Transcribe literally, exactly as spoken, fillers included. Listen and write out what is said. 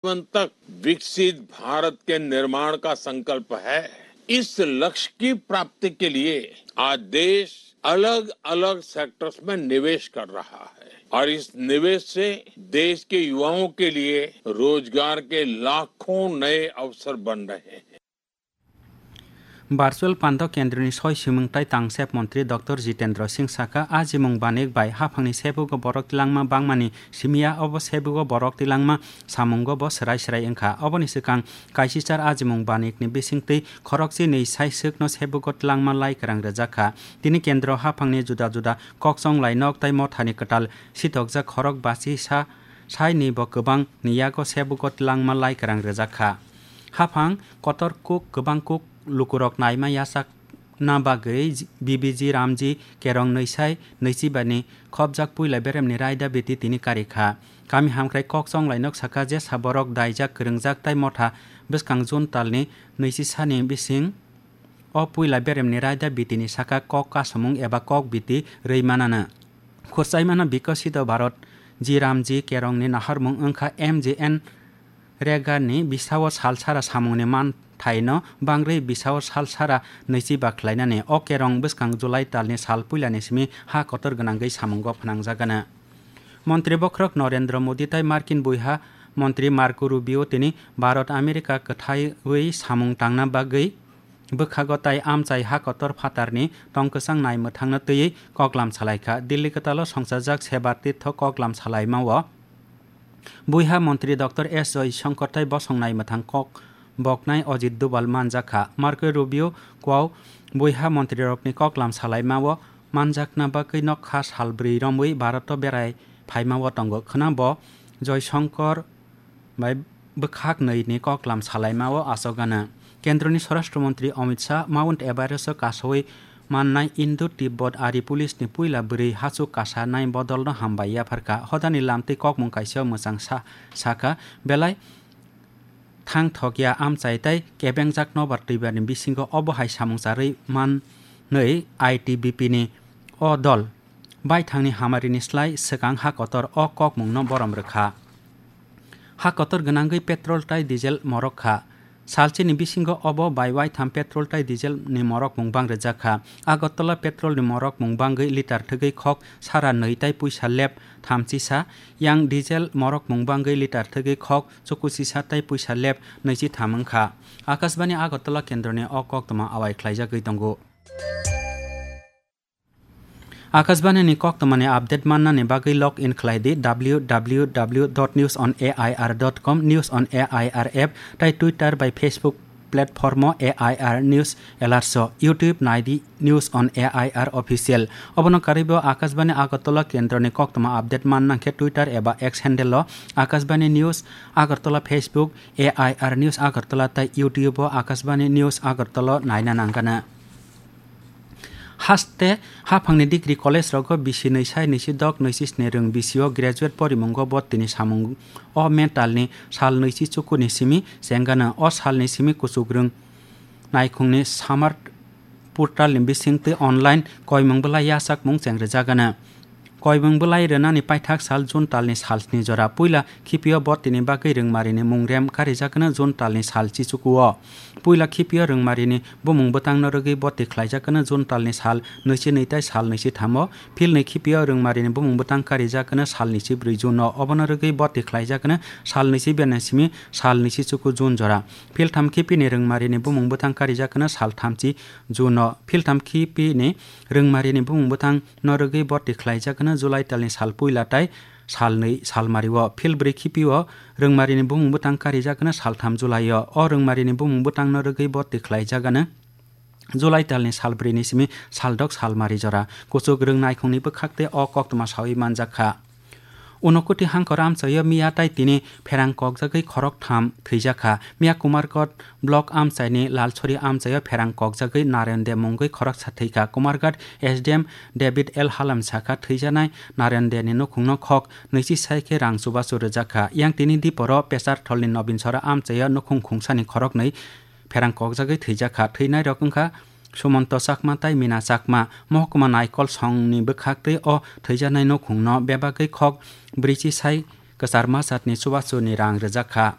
जीवन तक विकसित भारत के निर्माण का संकल्प है। इस लक्ष्य की प्राप्ति के लिए आज देश अलग-अलग सेक्टर्स में निवेश कर रहा है और इस निवेश से देश के युवाओं के लिए रोजगार के लाखों नए अवसर बन रहे हैं। Virtual pando kendroni soi simung tai tangsep montri Doctor Jitendra Singh saka, ajimung banik bai haphangni sebugo borok tilangma bangmani simiya, obo sebugo borok tilangma samungo bo swrai swrai wngkha. Oboni swkang kaisichar ajimung banikni bisingtwi khorokchinwi sai swkno sebugo tilangma lai kwrang rwjak kha. Tini kendro haphangni juda juda kokchong lainok tai mothani kwtal sitokjak khorok bachisa saini bo kwbangni yago sebugo tilangma lai kwrang rwjak kha. Haphang kotor kuk kwbang kuk lukurok naima yachakna bagwi B B G Ramji Kerong nwi sai nwichi bani khopjak puila beremni raida biti tini kari kha. Kami hamkrai kokchong lainok saka, jesa borok daijak kwrwngjak tai motha bwskang June talni nwichi sani bising o puila beremni raida bitini saka kok kasamung eba kok biti rwi manano. Khurchaimano Bikasito Bharat Ji Ramji Kerongni naharmung wngkha M G N Regarni bisao sal sara samungni manthaino bangrwi bisao sal sara nwichi ba khlainani. O kerong bwskang July talni sal puilani simi ha kotor gwnangwi samungo phnangjagano. Montri bokhorok Narendra Modi tai Markin buiha montri Marco Rubio tini Bharat America kwthaiwi samung tangna bagwi bwkhago tai amchai ha kotor phatarni tongkwchang nai mwthangno twiwi koklam salaikha. Dilli kwtalo songchajak Seba Tirtho koklam salaimao buiha montri Doctor S Jaishankar tai bosong nai mwthang kok boknai Ajit Doval manjakha. Marco Rubio kwao buiha montrirokni koklam salaimao manjakna bagwi nokha sal bwrwi romwi Bharat-o berai phaimao tongo. Khwna bo Jaishankar bai bwkhak nwi ni koklam salaimao achogano. Kendroni Swarashtra Montri Amit Shah Mount Everest-o kasaui mannai Indo-Tibbot Ari Police ni puila bwrwi hachuk kasa nai bodolno hambai yapharkha. Hodani lamtwi kokmung kaisa mwchang sa-, sakha, belai thangthokya amchai tai kebengjak nobar twibarni bisingo obo hai samung charwi manwi I T B P ni o dol baithangni hamarini slai swkang ha kotor o kokmungno borom rwkha. Ha kotor gwnangwi petrol tai diesel morok kha. Salchini bisingo obo bai waitham petrol tai diesel ni morokmung bang rwjak kha. Agartala petrol ni morokmung bangwi litar thwgwi khok sara nwi tai puisa lep thamchisa, yang diesel morokmung bangwi litar thwgwi khok chukuchisa tai puisa lep nwichitham wngkha. Akashbani Agartala kendroni o koktwma awai khlaijagwi tongo. Akashbani ni koktwmani update mannani bagwi log in khlai di W W W dot news on A I R dot com, News on A I R app, tai Twitter bai Facebook platform o A I R News Alerts o, YouTube nai di News on A I R Official. Obono karwi bo Akashbani Agartala kendroni koktwma update man nang khe Twitter eba X handle o Akashbani News Agartala, Facebook A I R News Agartala tai YouTube o Akashbani News Agartala naina nangkana. Haste haphangni degree college rogo bisi nwi sai nwi si dok nwi si sni rwng bisi o graduate porimungo bo tini samung o mental ni sal nwi si chuku ni simi chengano. O sal ni simi kuchuk rwng naikhung ni Samarth portal ni bising twi online koimung bwlai yachakmung chengrijagano. Koimung bwlai rwnani paithak sal June talni sal sni jora. Puila khipio bo tini bagwi rwngmarini mung rem karijakno June talni sal chichukuo. Puila khipio rwngmarini bumung bwtangno rwgwi boti khlaijakno June talni sal nwichi nwi tai sal nwichi thamo. Philni khipio rwngmarini bumung bwtang karijakno sal nwichi brwi June o. Obono rwgwi boti khlaijakno sal nwichi bernai simi sal nwichi chuku June jora. Philtham khipini rwngmarini bumung bwtang karijakno sal thamchi June o. Philtham khipini rwngmarini bumung bwtang no rwgwi boti khlaijakno July talni sal puila tai sal nwi salmario. Phil brwi khipio rwngmarini bumung bwtang karijakno sal tham July o. O rwngmarini bumung bwtangno rwgwi boti khlaijakno July talni sal brwi ni simi sal dok salmari jora. Kuchuk rwng naikhungni bwkhak tei o koktwma saui manjak kha. Unokoti hangkor amchaio miya tai tini pherang kokjagwi khorok tham thwijak kha. Miya Kumarghat block amchaini Lalsori amchaio pherang kokjagwi Narayan De mungwi khoroksa thwi kha. Kumarghat S D M David L Halam sakha, thwijaknai Narayan De ni nukhungno khok nwichi sai khe rang chubachu rwjak kha. Yang tini diporo Pesartholni Nobinsora amchaio nukhung khungsani khoroknwi pherang kokjagwi thwijak kha. Thwinairok wngkha Sumonto Chakma tai Mina Chakma. Mohokuma Naikol songni bwkhaktwi o thwijaknai nukhungno bebagwi khok brwichi sai kwcharma jatni chubachu ni rang rwjak kha.